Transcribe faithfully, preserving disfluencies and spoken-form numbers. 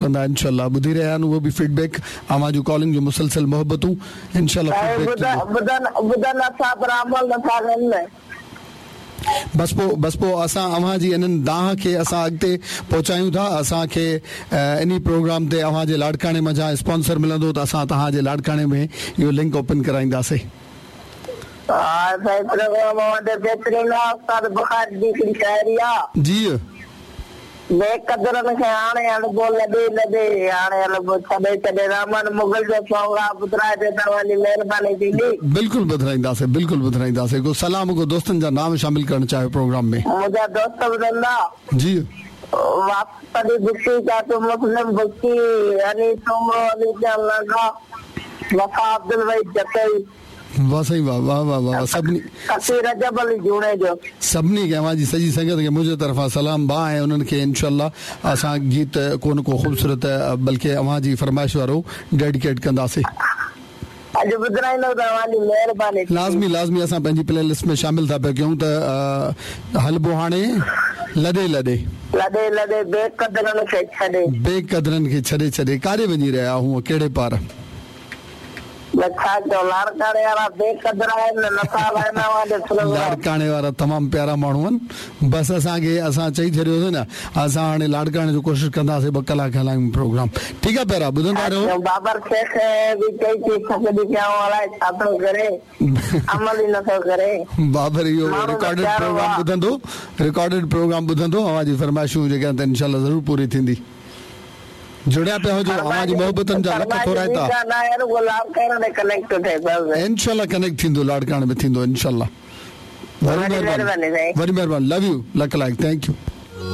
कंदा इंशाल्लाह। ॿुधी रहिया आहिनि उहो बि फीडबैक, अव्हां जूं कॉलिंग जो मुसलसल मोहबतूं इंशाल्लाह। बसि पोइ बसि पोइ असां अव्हां जी इन्हनि दाह खे असां अॻिते पहुचायूं था। असांखे इन प्रोग्राम ते अव्हां जे लाड़काणे मंझां स्पॉन्सर मिलंदो त असां तव्हांजे लाड़काणे में इहो लिंक ओपन कराईंदासीं। जी बेकदरनि खे हाणे हलबो लॾे लॾे, हाणे हलबो छॾे छॾे। रहमान मुग़ल जो सॉन्ग आहे, ॿुधाए ते तव्हांजी महिरबानी थींदी। बिल्कुलु ॿुधाईंदासीं, बिल्कुलु ॿुधाईंदासीं। को सलाम को दोस्तनि जा नाम शामिल करणु चाहियो प्रोग्राम में? मुंहिंजा दोस्त ॿुधंदा जी। वापस बुकी चाचो मुस्लिम बुकी, अली सोमरो, अली लगा, वफ़ा अब्दुल भाई जतई। वाह साईं वाह वाह वाह वाह। सभिनी रजब अली जुणेजो सभिनी खे अव्हांजी सॼी संगत खे मुंहिंजे तरफ़ां सलाम बा ऐं उन्हनि खे इंशाल्लाह असां गीत को न को ख़ूबसूरत बल्कि अव्हांजी फरमाइश वारो डेडिकेट कंदासीं। अॼु ॿुधाईंदो त अव्हांजी महिरबानी। लाज़मी लाज़मी असां पंहिंजी प्ले लिस्ट में शामिल था पिया कयूं त हलबो हाणे लॾे लॾे लॾे लॾे बेकदरनि खे छॾे, बेकदरनि खे छॾे छॾे। काॾे वञी रहिया हूअं, कहिड़े पार? लाड़काणे वारा तमामु प्यारा माण्हू आहिनि। बसि असांखे असां चई छॾियोसीं न, असां हाणे लाड़काणे जो कोशिशि कंदासीं ॿ कलाक हलायूं प्रोग्राम। ठीकु आहे प्यारा, ॿुधंदा रहो। बाबर शेख बि चई थी छा थो करे, अमल ई नथो करे। बाबर इहो रिकॉर्डेड प्रोग्राम ॿुधंदो, रिकॉर्डेड प्रोग्राम ॿुधंदो। अव्हांजी फरमाइशूं जेके आहिनि त इंशाल्लाह ज़रूरु पूरी थींदी। जुड़िया पिया हुजो, अव्हांजी मोहबतनि जा लख थोराइता। इंशाल्लाह कनेक्ट थींदो, लाड़काणे में थींदो इंशाल्लाह। वॾी महिरबानी, वॾी महिरबानी। Love you, luck like, thank you.